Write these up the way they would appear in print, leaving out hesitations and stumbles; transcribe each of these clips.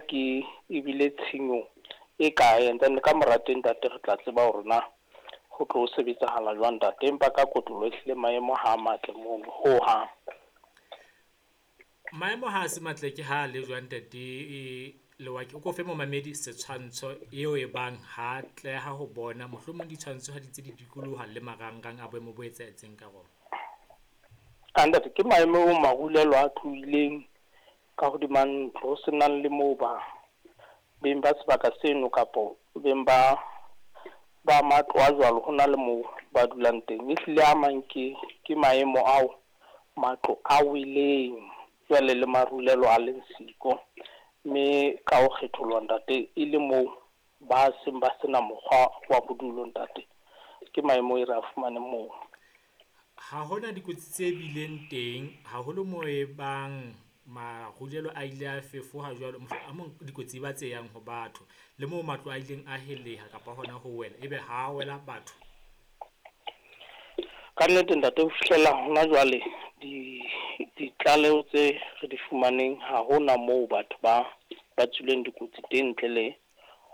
ke ebile tshenyo e kae, and then ka mora teng, ntate, re tla tseba hore na ho tlo sebetsahala jwang, ntate. Empa ka kotlolo ehlile maemo ha a matle mono ho hang. Maemo ha a se matle ke ha le jwang, ntate Lewake? O ko fe momamedi setshwantsho eo e bang ha tleha ho bona, mohlomong ditshwantsho ha di tse di dikoloha le marangrang a boemo bo etsahetseng ka rona. A ntate, ke maemo o marulelo a tlohileng ka hodima ntlo, ho senang le moo ba beng ba sebaka seno kapo beng ba matlo a jwalo ho na le moo ba dulang teng. Ehlile a mang ke maemo ao matlo a weleng jwale le marulelo a leng siko, mme ka ho kgetholoha, ntate, e le moo ba seng ba sena mokgwa wa bodulo, ntate. Ke maemo e re a fumaneng moo. Ha hona dikotsi tse bileng teng haholo moo e bang marulelo a ile a fefoha jwalo, a mong dikotsi ba tse yang ho batho le moo matlo a ileng a heleha kapa hona ho wela, ebe ha wela batho? Ka nnete, ntate, ho fihlela hona jwale ditlaleho tse re di fumaneng, ha hona moo batho ba tswileng dikotsi teng ntle le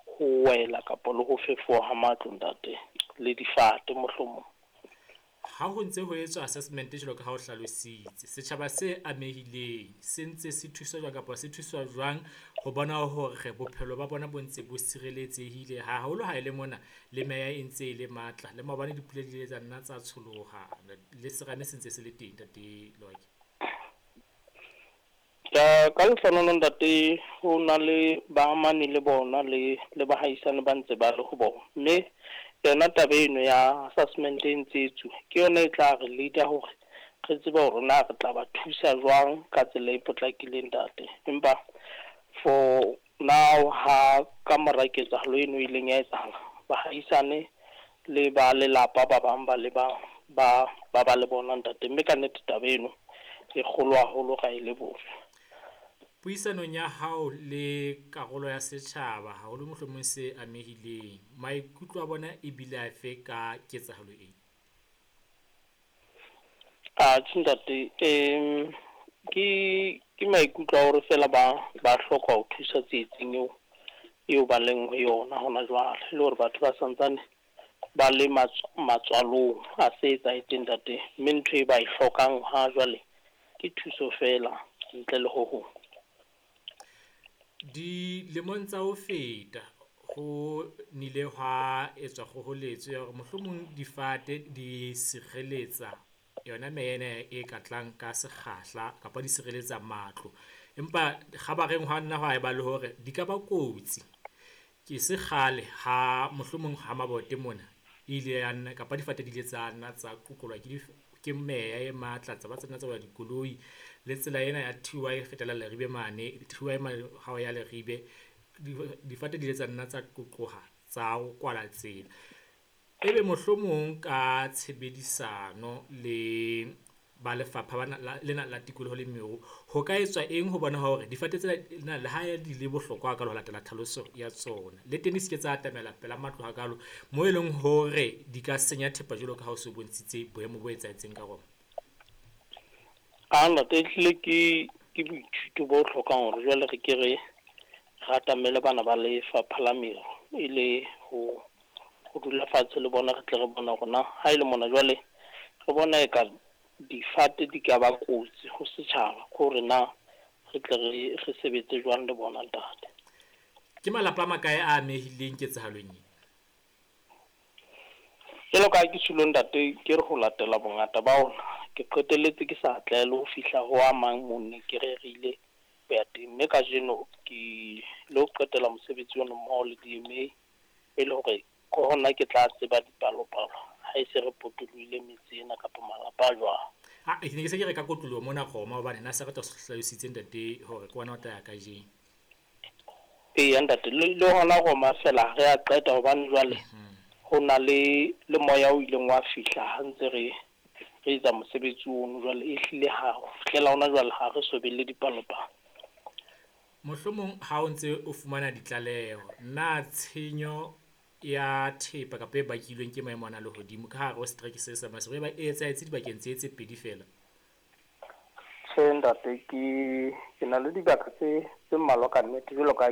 ho wela kapa le ho fefoha ha matlo, ntate, le difate mohlomong. Ha ho ntse ho etswa assessment jwalo ka ha o hlalositse, setjhaba se amehileng se ntse se thuswa jwang kapa se thuswa jwang ho bona hore bophelo ba bona bo ntse bo sireletsehile, haholo ha e le mona le meya e ntse e le matla, le maobane dipula di ile tsa nna tsa tsholoha le serame se ntse se le teng, ntate Lewake? Ka lehlohonolo, ntate, ho na le baamani le bona le bahaisane ba ntse ba le ho bona, mme yona taba eno ya assessment e ntse etsuwa ke yona e tla re leader hore re tsebe hore na re tla ba thusa jwang ka tsela e potlakileng, ntate. Empa for now, ha ka mora ketsahalo eno e ileng ya etsahala, bahaisane le ba lelapa ba bang ba le ba le bona, ntate, mme ka nnete taba eno e kgolo haholo, ra e leboha. Puisanong ya hao le karolo ya setjhaba, haholo mohlomong se amehileng, maikutlo a bona ebile afe ka ketsahalo e? Atjhe, ntate, ke maikutlo a hore fela ba hloka ho thusa tsietsing eo ba leng ho yona hona jwale, le hore batho ba santsane ba le matswalong a se etsahetseng, ntate, mme ntho e ba e hlokang ha jwale ke thuso fela ntle le ho hong. Dilemong tsa ho feta ho nile hwa etswa kgoholetso ya hore mohlomong difate di sireletsa yona meya ena e ka tlang ka sekgahla kapa di sireletsa matlo, empa kgabareng hwa nna hwa eba le hore di ka ba kotsi. Ke se kgale ha mohlomong ha mabote mona ile ya nna kapa difate di ile tsa nna tsa qoqolwa ke meya e matla, tsa ba tsa nna tsa wela dikoloi le tsela ena ya TY e fetela Leribe mane, TY mane ha o ya Leribe, difate di ile tsa nna tsa qoqoha tsa kwala tsela. Ebe mohlomong ka tshebedisano le ba lefapha bana lena la tikoloho le meru, ho ka etswa eng ho bona hore difate tsena le ha di le bohlokwa hakalo ho latela tlhaloso ya tsona, le teng di se ke tsa atamela pela matlo hakalo moo e leng hore di ka senya thepa jwalo ka ha o so bontshitse boemo bo etsahetseng ka rona? A ntate, ehlile ke boithuto bo hlokang hore jwale re ke re atamele bana ba lefapha la meru, e le ho dula fatshe le bona, re tle re bona hore na ha e le mona jwale re bona e ka difate di ka ba kotsi ho setjhaba, ke hore na re tle re sebetse jwang le bona, ntate. Ke malapa a makae a amehileng ketsahalong e? Jwalo ka ha ke tjholo, ntate, ke re ho latela bongata ba ona, ke qetelletse ke sa atleha le ho fihla ho a mang moo ne ke rerile ho ya teng, mme kajeno ke lo qetela mosebetsi ono mmoho le DMA, e le hore ke hona ke tla tseba dipalopalo ha e se re potolohile metse ena kapa malapa a jwang. Ha ke ne ke se ke re ka kotloloho mona Roma, hobane na se re tla hlalositse, ntate, hore ke wena o tla ya kajeno. Eya, ntate, le hona Roma fela re a qeta, hobane jwale ho na le moya o ileng wa fihla ha ntse re etsa mosebetsi ono. Jwale ehlile ha ho fihlela hona jwale ha re so be le dipalopalo. Mohlomong ha o ntse o fumana ditlaleho, na tshenyo ya thepa kapa e bakilweng ke maemo ana a lehodimo ka hare ho setereke se sa Maseru e ba e etsahetse dibakeng tse pedi feela? Tjhe, ntate, ke na le dibaka tse mmalwa ka nnete jwalo ka ha ke